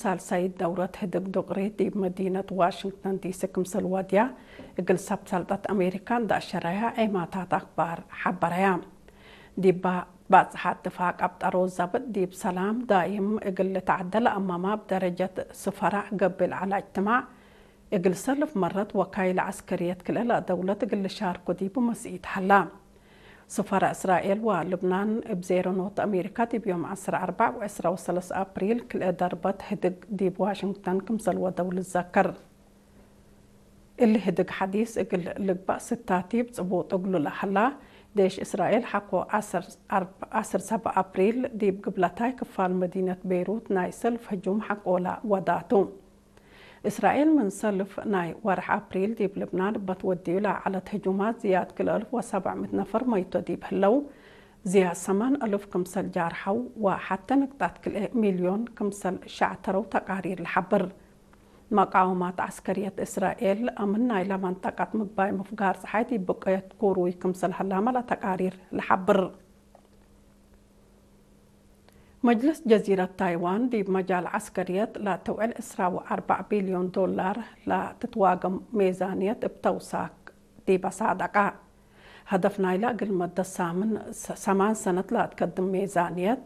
ሳልሳይት ደውረት ህድግ ዱቅሪ ዲብ መዲነት ዋሽንግተን ዲሲ ክምሰል ወድያ እግል ሰብ ሰልጠት ኣሜሪካ እንዳሸረያ ዔማታት ኣክባር ሓበረያ። ዲባ ባጽሓት ድፋ ቀብጠሮ ዘብጥ ዲብ ሰላም ዳይም እግል ልትዓደል ኣማማ ብደረጀት ስፈራ ገብል ዓላ እጅትማዕ እግል ሰልፍ መረት ወካይል ዓስከርየት ክልኤ ደውለት እግል ልሻርኩ ዲቡ መስኢት ሀላ። ስፈራ እስራኤል ወልብናን እብ ዜሮ ኖት ኣሜሪካ ዲብ ዮም ዓሰርተ ኣርባዕ ወዕስራ ወሰለስተ ኣፕሪል ክልኤ ደርበት ህድግ ዲብ ዋሽንግተን ክምሰል ወደው ልዘከር። እሊ ህድግ ሓዲስ እግል ልግባእ ስታቲብ ጽቡጥ እግሉ ለሀላ፣ ዴሽ እስራኤል ሓኮ ዓሰርተ ኣርብ-፣ ዓሰርተ ሰብዓ ኣፕሪል ዲብ ግብለታይ ክፋል መዲነት ቤይሩት ናይ ሰልፍ ህጁም ሓቆላ ወዳቱ። እስራኤል ምን ሰልፍ ናይ ወርሕ ኣፕሪል ዲብ ልብናን እበት ወድዩ ለዓለት ህጁማት ዝያድ ክልኤ እልፍ ወሰብዕ ምእት ነፈር መይቶ ዲብ ህለው፣ ዝያድ ሰማን እልፍ ክምሰል ጃርሐው ወሓተ ንቅጣት ክልኤ ሚልዮን ክምሰል ሸዕተረው ተቃሪር ልሓብር። መቃወማት ዓስከርየት እስራኤል ኣምን ናይላ መንጠቀት ምግባይ ምፍጋር ጸሓይ ዲብ ብቀየት ኩሩይ ክምሰል ሀላማ ለተቃሪር ልሓብር። መጅልስ ጀዚረት ታይዋን ዲብ መጃል ዓስከርየት ለትውዕል ዕስራ ወኣርባዕ ቢልዮን ዶላር ለትትዋገም ሜዛንየት እብ ተውሳክ ዲብ ኣሳደቃ። ሀደፍ ናይላ እግል መደት ሳምን ሰ-፣ ሰማን ሰነት ለትከድም ሜዛንየት፣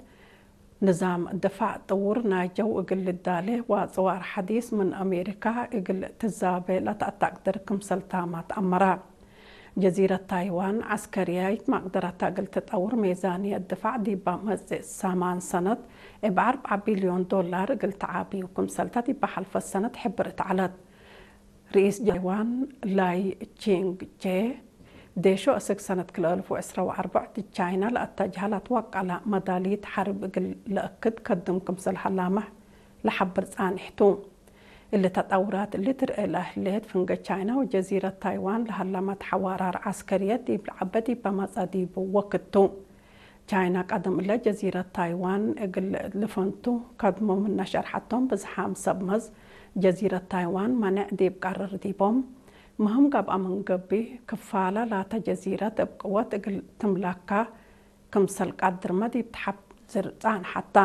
ንዛም ድፋዕ ጥውር ናይ ጀው እግል ልዳሌ ወጽዋር ሐዲስ ምን ኣሜሪካ እግል ትዛቤ ለተአታቅድር ክምሰል ታማት ኣመራ። ጀዚረት ታይዋን ዐስከርያይት መቅደረታ እግል ትጠውር ሜዛንየት ድፋዕ ዲባ መጽእ ሰማን ሰነት እብ ኣርብዓ ቢልዮን ዶላር እግል ተዓብዩ ክምሰልታ ዲባ ሐልፈት ሰነት ሕብርት ዐለት። ርኢስ ታይዋን ላይ ቺንግ ቼ፣ ዴሾ እስክ ሰነት ክልኤ እልፍ ወዕስራ ወኣርባዕ ዲብ ቻይና ለአተጅሃ ለትወቀላ መዳሊት ሐርብ እግል ለእክድ ከድም ክምሰል ሀላመ ለሐብር ጻንሕቱ። እሊ ተጠውራት እሊ ትርኤ ለህሌት ፍንገ ቻይና ወጀዚረት ታይዋን ለሀለመት ሐዋራር ዐስከርየት ዲብ ለዐበ ዲብ በመጸ ዲቡ ወክቱ። ቻይና ቀደም እለ ጀዚረት ታይዋን እግል ልፈንቱ ከድሞ ምነ ሸርሐቶም ብዝሓም ሰብ መዝ ጀዚረት ታይዋን መኔዕ ዲብ ቀርር ዲቦም። ምህም ገብአ ምን ገብእ ክፋለ ላተ ጀዚረት እብ ቅወት እግል ትምለካ ክምሰል ቀድርመ ዲብ ተሐብዝር ጻንሐታ።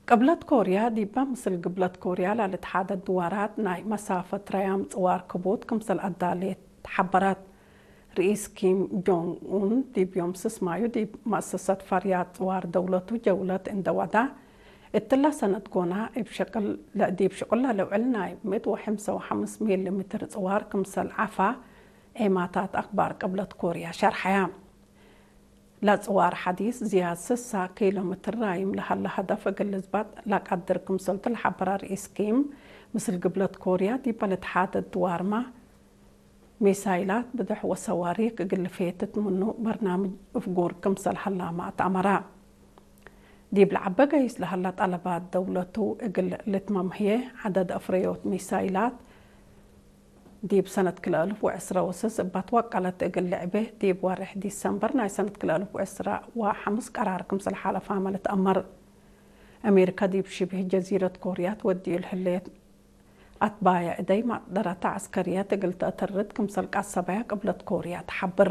ቅብለት ኮርያ ዲባ ምስል ግብለት ኮርያ ላልትሓደድ ድዋራት ናይ መሳፈት ረያም ጽዋር ክቡት ክምሰል ኣዳሌት ሓበራት። ርኢስ ኪም ጆንግ ኡን ዲብ ዮም ስስማዩ ዲብ መእሰሰት ፈርያት ጽዋር ደውለቱ ጀውለት እንደ ወዳ፣ እትላ ሰነት ጎና እብ ሸቅል ለ-፣ ዲብ ሽቁላ ልውዕል ናይ ምእት ወሐምሳ ወሐምስ ሚሊ ሜትር ጽዋር ክምሰል ዓፋ ዔማታት ኣክባር ቅብለት ኮርያ ሸርሐያ። ለጽዋር ሐዲስ ዝያድ ስሳ ኪሎ ሜትር ራይም ለሀለ ሀደፍ እግል ልዝባጥ ለቀድር ክምሰልቱ ለሐበረ ርኢስ ኪም፣ ምስል ግብለት ኮርያ ዲበ ልትሓደድ ድዋርማ ሚሳይላት ብድሕ ወሰዋሪክ እግል ልፌትት ምኑ በርናምጅ እፍጉር ክምሰል ሀላማ አትአመራ። ዲብ ለዐበ ገይስ ለሀለ ጠለባት ደውለቱ እግል ልትመምህየ ዐደድ አፍረዮት ሚሳይላት ዲብ ሰነት ክልኤ እልፍ ወዕስራ ወስስ እባ ትወቀለት እግል ልዕቤ ዲብ ወርሕ ዲሰምበር ናይ ሰነት ክልኤ እልፍ ወዕስራ ወሐምስ ቀራር ክምሰል ሓለፋመ ልትአመር። አሜሪካ ዲብ ሽብህ ጀዚረት ኮርያ ትወድዩ ለህሌት አትባየ እደይ መቅደረተ ዐስከርየት እግል ተአተርድ ክምሰል ቀሰበያ ቅብለት ኮርያ ተሐብር።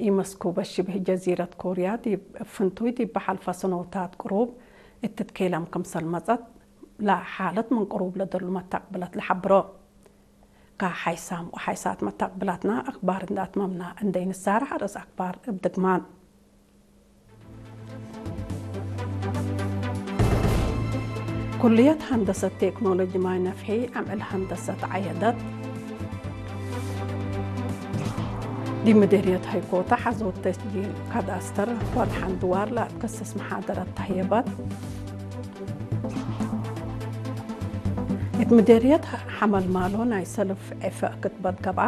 ኢመስኩበ ሽብህ ጀዚረት ኮርያ ዲብ ፍንቱይ ዲብ በሐልፈ ሰኖታት ቅሩብ እትትኬለም ክምሰል መጸት ለሓለት ምን ቅሩብ ለደሉ መታቅብለት ለሐብሮ። ከሓይሳም ወሓይሳት መታቅብላትና አክባር እንዳትመምና እንደይ ንሳረሕ ርእስ አክባር እብ ድግማን። ኩልየት ሀንደሰት ቴክኖሎጂ ማይ ነፍሒ ዓምዕል ሀንደሰት ዓየደት። ዲብ ምዴርየት ሀይኮታ ሐዞት ተስጂል ካዳስተር ወድሓን ድዋር ለአትከስስ መሓደረት ተህየበት። እት ምዴርየት ሐመልማሎ ናይ ሰልፍ ዕፈ ክትበት ገብአ።